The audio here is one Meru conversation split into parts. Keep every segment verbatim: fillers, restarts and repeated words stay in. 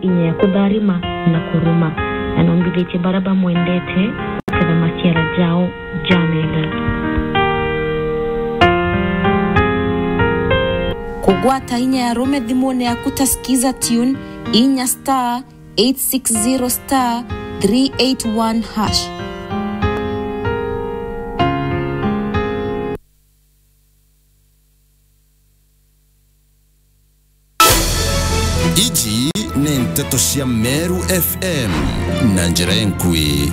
inya ya kutharima na kuruma, na nombithitie baria bamwendete kuketha maciara jao janene. Kugwata inya ya rume thimune yaku ta Skiza Tune, inya star eight six zero star three eight one hash. Iji ni nteto cia Meru F M na njira enkui.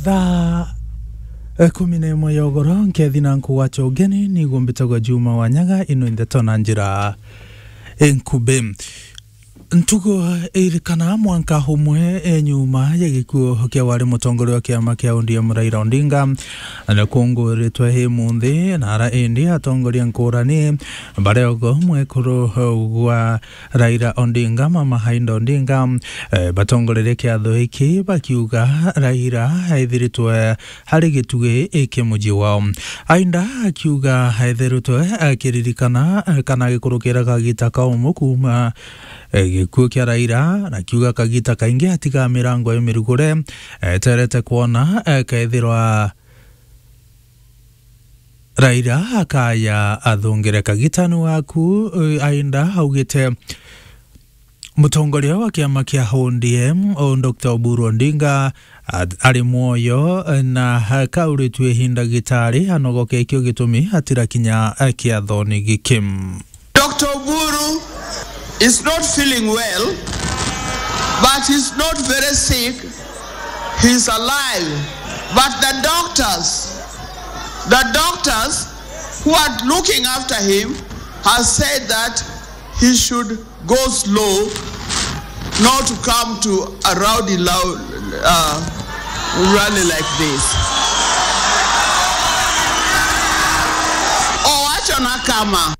Thaa ikumi na imwe ya ugoro, nkethi na nkugwacha ugeni, niguo mbitagwa Juma Wanyaga, ino ndeto na njira enkubi. Ntugo irikana mwanka umwe, e, nyuma ya gikuo kia wari mutongoria wa kiama kia O D M Raila Odinga, na kunguritwe imunthi, na ara indi atongoria nkurani, baria ogo mwekuru gwa Raila Odinga, Mama Aida Odinga, eh, batongorerie kiatho giki bakiuga Raila aithiritwe ari gitugi kia muji wao. Aida akiuga aithiritwe akiririkana, eh, kana agikurukira kagita kaumu kuuma, eh, gikuo kia Raila, na akiuga kagita kaingi atiga mirango imirugure, eh, eterete kwona, eh, kethirwa Raila akaya athungire kagitani waku, eh, Aida augite mutongoria wa kiama kia O D M, o Doctor Oburu Odinga, at-, ari mwoyo, eh, na akauritue ihinda gitari anogoke, ikio gitumi atirakinya, eh, kiathoni giki. Doctor Oburu is not feeling well, but he's not very sick. He's alive. But the doctors, the doctors who are looking after him have said that he should go slow, not to come to a rowdy lou-, uh, rally like this. Oh, achana kama.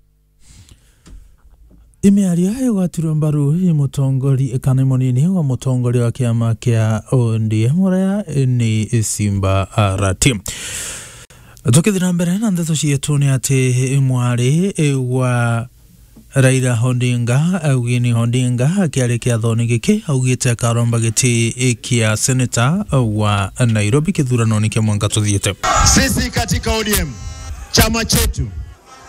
Imiario igwatirwe mbaru i mutongori-, kana i munini wa mutongoria wa kiama kia O D M, uria ni Simba Arati. Tukithira mbere na ndeto cietu, ni ati mwari wa Raila Odinga, Eugene Odinga, akiaria kiathoni giki, augite akaromba giti kia seneta wa Nairobi kithuranoni kia mwanka tuthiite. Sisi katika O D M, chama chetu,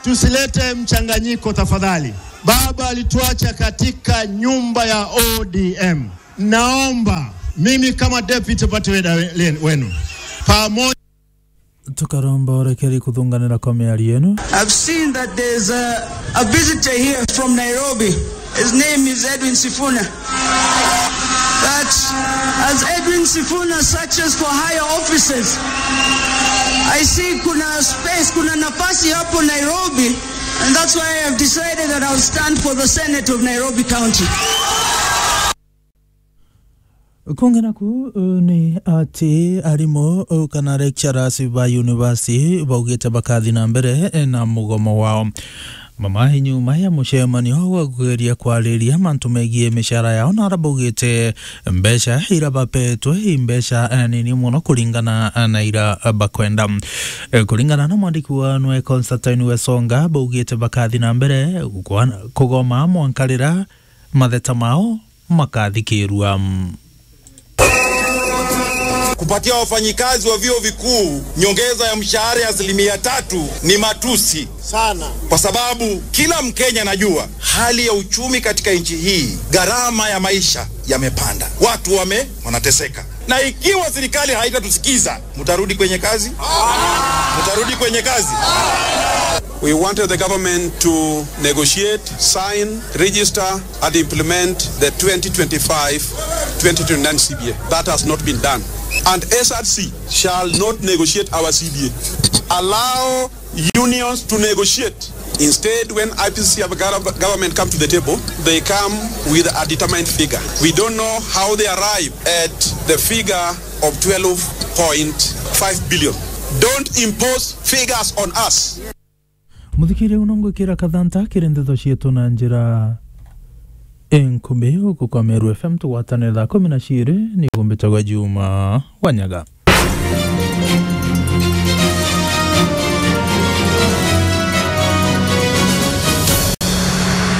tusilete mchanganyiko tafadhali. Baba alituacha katika nyumba ya O D M. Naomba mimi kama deputy party leader we-, wenu, pamoja Tukaromba urekeri kuthunganira kwa miario yenu. I've seen that there's a, a visitor here from Nairobi. His name is Edwin Sifuna. But as Edwin Sifuna searches for higher offices, I see kuna space, kuna nafasi hapo Nairobi, and that's why I have decided that I'll stand for the Senate of Nairobi County. Kungi naku, uh, ni ati arimu, uh, kana lecturers ba university baugite bakathi na mbere, eh, na mugomo wao. Mama, nyuma ya mucemanio wa kugeria kwariria mantu megie micara yao, na ara baugite mbeca ira bapetwe i mbeca, eh, nini muno kuringana, eh, na ira, eh, bakwenda. Eh, kuringana na mwandiki wa nwe Constantine Wesonga, baugite bakathi na mbere kugoma mwanka rira matheta mao makathikirua. Kupatia wafanyikazi wa vyuo vikuu nyongeza ya mshahara ya asilimia tatu ni matusi sana, kwa sababu kila Mkenya anajua hali ya uchumi katika nchi hii, gharama ya maisha yamepanda, watu wame-, wanateseka. Na ikiwa serikali haitatusikiza, mtarudi kwenye kazi? Mtarudi kwenye kazi? We wanted the government to negotiate, sign, register, and implement the twenty twenty-five twenty twenty-nine C B A. That has not been done. And S R C shall not negotiate our C B A. Allow unions to negotiate. Instead, when I P C C have a gov-, government come to the table, they come with a determined figure. We don't know how they arrive at the figure of twelve point five billion. Don't impose figures on us. Muthikiria, uno ngwikira kathanta kiri ndeto cietu na njira enkubi guku kwa Meru F M, tugwatane thaa kumi na ciiri, ni gumbitagwa Juma Wanyaga.